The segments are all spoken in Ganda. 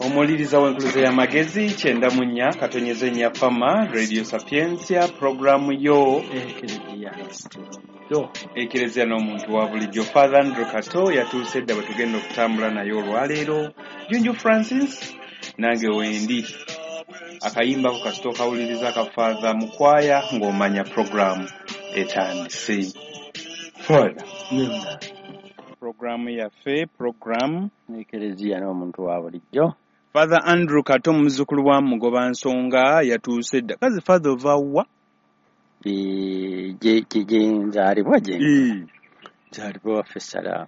Omuwuliriza w'enkuluze y'amagezi 94.4 Fama Radio Sapientia, puroguramu yo Ekereziya yo Ekereziya n'omuntu wa bulijjo. Father Andrew Kato yatuuse dda bwe tugenda okutambula naye olwaleero. Junju Francis nange wendi. Akayimbako kasita okawuliriza ka Father Mukwaya ng'omanya puroguramu etandise. Father, puroguramu yaffe, puroguramu Ekereziya n'omuntu wa bulijjo. Father Andrew Kato muzzukulu wa Mugoba Nsonga yatuuse dda. Kazi Father ova wa? Gye nzaalibwa gye nzaalibwa waffe Salaamu.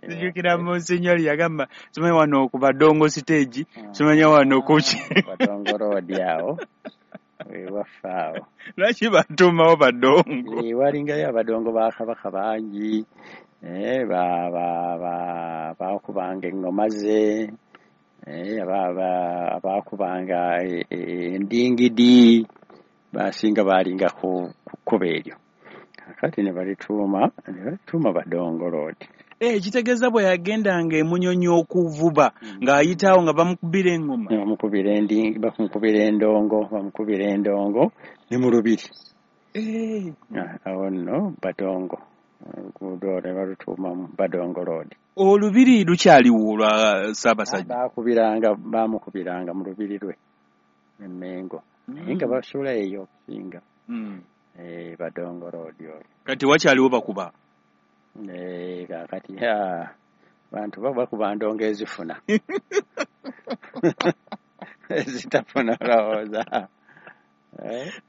Nzijukira Monsignor yagamba simanyi wano ku Badongo stage, simanyi wano ku ki. Badongo road awo. Waffe awo. Lwaki batuumawo Badongo? Walingayo abadongo ba Kabaka bangi. Baakubanga eŋŋoma ze, abaakubanga endingidi, basinga baalinga ku kkubo eryo. Kaakati ne balituuma Badongo Road. Kitegeeza bwe yagendanga e Munyonyo okuvuba ng'ayitaawo nga bamukubira eŋŋoma. Bamukubira endongo, bamukubira endongo ne mu lubiri. Awo nno Badongo. Oluguudo olwo ne balutuuma Badongo Road. Olubiri lukyaliwo olwa Ssaabasajja? Baamukubiranga mu lubiri lwe e Mmengo. Naye nga basula eyo okusinga. Badongo Road olwo. Kati wakyaliwo bakuba? Kaakati bantu bakuba ndongo ezifuna. Ezitafuna olowooza.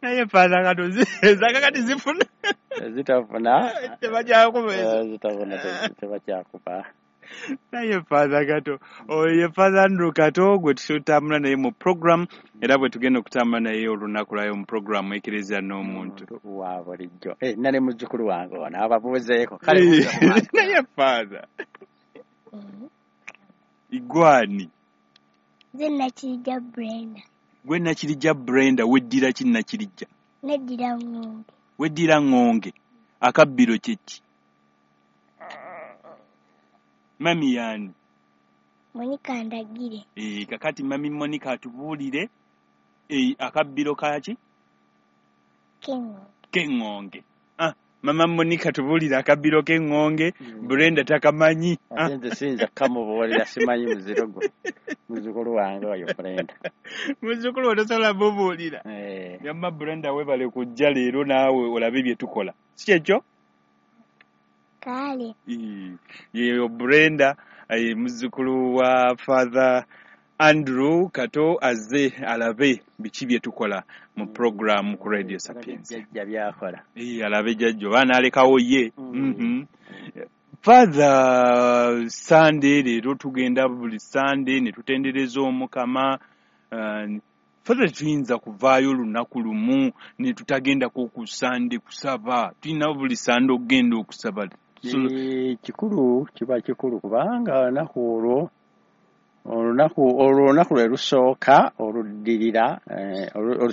Naye Father Kato ezakakati zifuna. Ezitafuna tebakyakuba ezo. Ezitafuna tebakyakuba. Naye Father Kato, oyo ye Father Andrew Kato gwe tutambula naye mu program, era bwe tugenda okutambula naye olunaku lwayo mu program Ekereziya n'omuntu wa bulijjo. Nna ne muzzukulu wange ono ababuuzeeko. Kale naye Father. Igwani. Nze Nakirijja Brenda. Gwe Nakirijja Brenda, weddira ki Nakirijja? Neddira ŋŋonge. Weddira ŋŋonge. Akabbiro kye ki? Mami yaani? Monica Ndagire. Kakati Mami Monica atubuulire akabbiro kaaki? K'eŋŋonge. K'eŋŋonge. Mama Monica tubuulire akabbiro k'eŋŋonge, Brenda takamanyi. Ate nze siyinza kukamubuulira, simanyi muziro gwe. Muzzukulu wange oyo Brenda. Muzzukulu otosobola mubuulira. Yamma Brenda weebale kujja leero naawe olabe bye tukola. Si kyekyo? Kale. Yeyo Brenda, muzzukulu wa Father Andrew Kato azze alabe biki bye tukola mu program ku Radio Sapientia. Jjajja by'akola. Alabe jjajja oba n'alekawo ye. Father, Sunday leero tugenda buli Sunday ne tutendereza Omukama. Father, tuyinza kuvaayo olunaku lumu ne tutagendako ku Sunday kusaba. Tulina buli Sunday okugenda okusaba. Kikulu, kiba kikulu kubanga olunaku olwo olunaku lwe lusooka oluddirira